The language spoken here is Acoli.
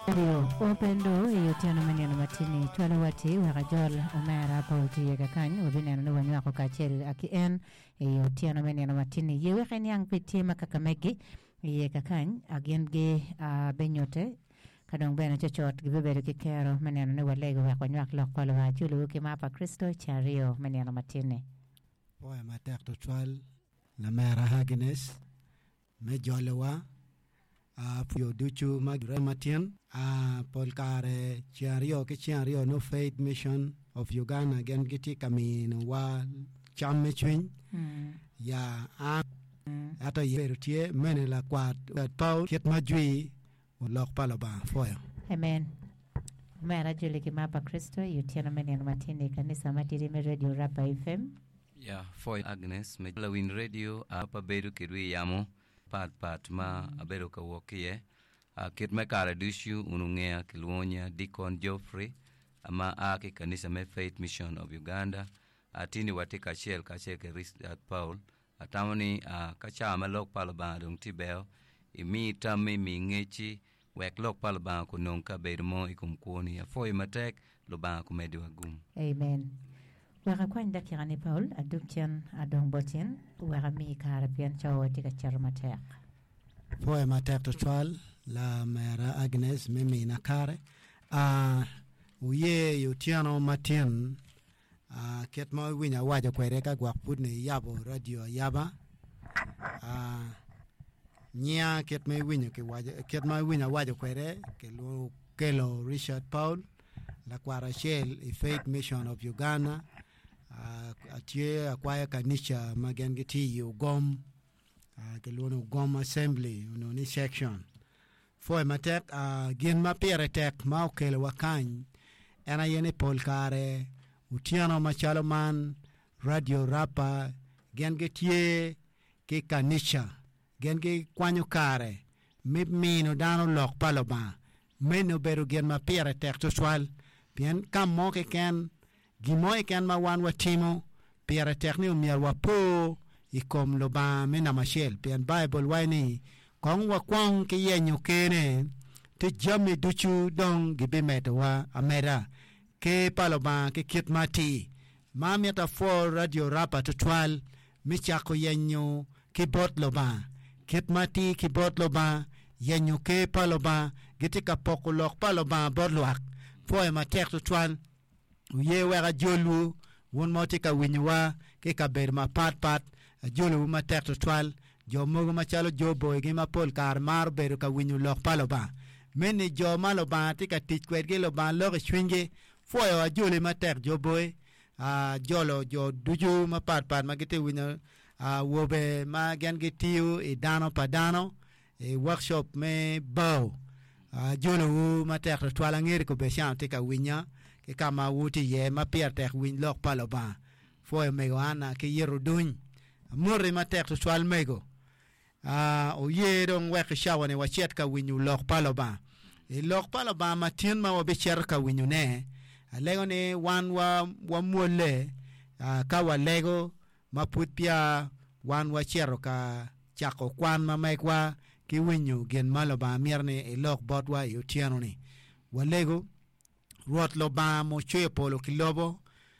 Radio Open Door i otyeno me nino matini cwalo wa ti wek ajol omera Paul tye kakany wabineno ni wanywako kacel ki en i otyeno me nino matini ye wek iniang pi tye ma kaka megi iye kakany gin gi binyute ka dong bene cocot gibibedo ki kero me neno ni walego wek wanywak lok pa Lubanga aculuwu ki mar pa Kricito i ceng aryo me nino matini. Pwoyo matek tutwal lamera Agnes me jolowa jo ducu ma girema tin. Pol kare ceng aryo ki ceng aryo nongo Faith Mission of Uganda gin gitye ka minowa cam me cwiny. Ya an ento bedo tye mene lakwat Paul kit ma jwi lok pa Lubanga pwoyo. Amen. Omera joli ki mar pa Kricito i otyeno me nino matin i kanisa matidi me Radio Rapa FM. Ya pwoyo Agnes me lawiny radio a pe abedo kedwu i yamo pat pat ma abedo ka wok ki iye. Kit me kare ducu wun wungeya kilwongo nya Deacon Geoffrey ma a ki i kanisa me Faith Mission of Uganda. Atini watye kacel kacel ki Richard Paul Atamo ni, ka cawa ma Lok pa Lubanga dong tye beo, imi tammi, imi ngecci, wek Lok pa Lubanga kunong kabedo mo i kom kwoni. Apwoyo matek, Lubanga kumeddiwa gum. Amen. Wek akwany dakika ni Paul, adug cen adong bot in, wek amiyi kare pien cawa tye ka cito matek. Apwoyo matek tutwal lamera Agnes me mina kare. Wuye i otyeno matin Kit ma iwinyo awaco kwede ka gwok pud ni iyabo radio ayaba, nyinga kit ma iwinyo kiwaco kit ma iwinyo awaco kwede kilwongo Okello Richard Paul lakwat acel i Faith Mission of Uganda atye akwayo kanica ma gin gitye i Ugom kilwongo ni Ugom Assembly onongo ni section. Pwoyo matek gin ma pire tek ma okelowa kany en aye ni pol kare otyeno macalo man radio rapa gin gitye ki kanica gin gikwanyo kare me mino dano lok pa Lubanga meno obedo gin ma pire tek tutwal pien ka mo keken Gin mo keken ma wan watimo, pire tek ni omyero wapo i kom Lubanga me namba acel, pien Baibul waco ni, Kong wakwong ki yenyo Ker-ne, ci jami ducu dong gibimedowa ameda. Ker pa Lubanga ki kit ma atir. Ma mito apwo Radio Rapa tutwal me cako yenyo ki bot Lubanga. Kit ma atir ki bot Lubanga, yenyo Ker pa Lubanga, gitye ka poko lok pa Lubanga bot lwak. Pwoyo matek tutwal. Wuye wek ajolwu, wun ma wutye ka winyowa ki i kabedo mapatpat, ajolowu matek twatwal. Jo mogo macalo jo boygi ma pol kare maro bedo ka winyo lok pa Lubanga. Meno ni jo ma Lubanga tye ka tic kwedgi, Lubanga loko i cwinygi. Pwoyo ajoli matek jo boy, ajolo jo ducu mapatpat ma gitye ka winyo awobe ma gin gitiyo i dano pa dano. I workshop me bao, ajolowu matek tutwal. Angeyo ni kobedi tye ka winya ki ka ma wutye iye ma pire tek winy lok pa Lubanga. Pwoyo mego Anna ki yito duny. Amoti matek tutwal mego. Oye dong wek i cawa-ni wacit ka winyo lok pa Lubanga. I lok pa Lubanga ma tin ma wabicito ka winyone, alego ni wan wamwolle ka walego ma pud peya wan wacito ka cako kwan ma megwa ki winyo gin ma Lubanga mito ni elok botwa i otyeno-ni. Walego, Rwot Lubanga mucweyo polo ki lobo,